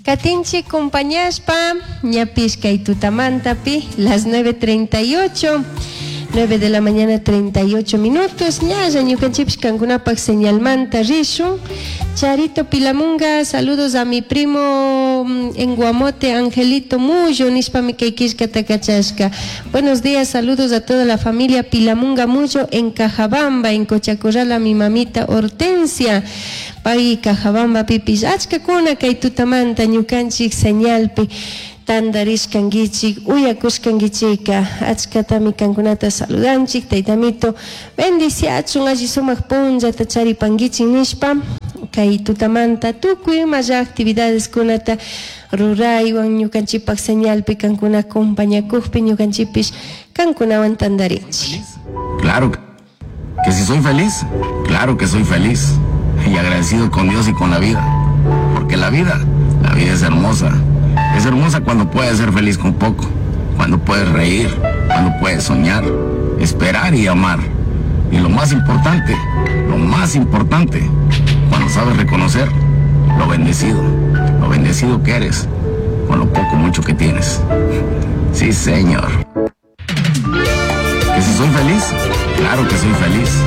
Katinchik compañashpa ñapish kay tutamantapi las 9:38, 9 de la mañana 38 minutos, ñalla ñukanchikpish kankunapak señalmanta rishun. Charito Pilamunga, saludos a mi primo en Guamote, Angelito Mullo, nishpami kay killkata kachashka. Buenos días, saludos a toda la familia Pilamunga Mullo en Cajabamba, en Cochacorral, a mi mamita Hortensia. Pay Cajabamba pipish achkakuna kay tutamanta ñukanchik señalpi tandarishkankichik, uyakushkankichika. Achkatami kankunata saludanchik, taytamito bendiciachun, alli sumak punllata charipankichik nishpa kay tutamanta tukuy imalla actividades kunata ruraywan ñukanchikpak señalpi kankuna acompañakukpi ñukanchikpish kankunawan tandarinchik. Claro que si soy feliz, claro que soy feliz y agradecido con Dios y con la vida, porque la vida es hermosa. Es hermosa cuando puedes ser feliz con poco, cuando puedes reír, cuando puedes soñar, esperar y amar. Y lo más importante, cuando sabes reconocer lo bendecido que eres, con lo poco mucho que tienes. Sí, señor. ¿Que si soy feliz? Claro que soy feliz.